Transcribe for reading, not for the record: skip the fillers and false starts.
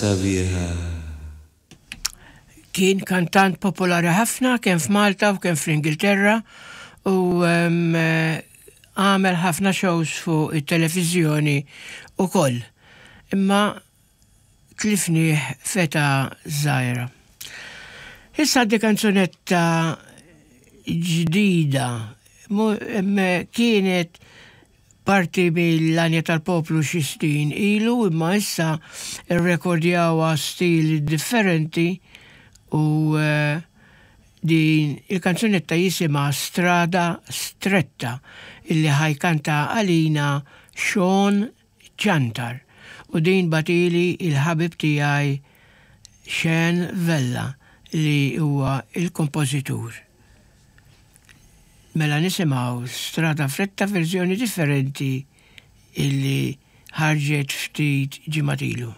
sabiħa. Kien kantant popolari ħafna kemm f'Malta u kemm fl-Ingilterra u għamel ħafna shows fuq it-televiżjoni ukoll. Imma tlifnieh f'età żgħira. Issa għaddi kanzunetta ġdida kienet parti mill-Għanja tal-Poplu xi snin ilu imma issa rrekordjawha stil differenti u din il-kanzunetta jisimha Strada Stretta illi ħa jkanta għalina Sean Ciantar u din bagħtili il-ħabib tiegħi Sean Vella li huwa il-kompożitur. Mela nisimgħu Strada Fretta verżjoni differenti illi ħarġet ftit ġimgħat ilu.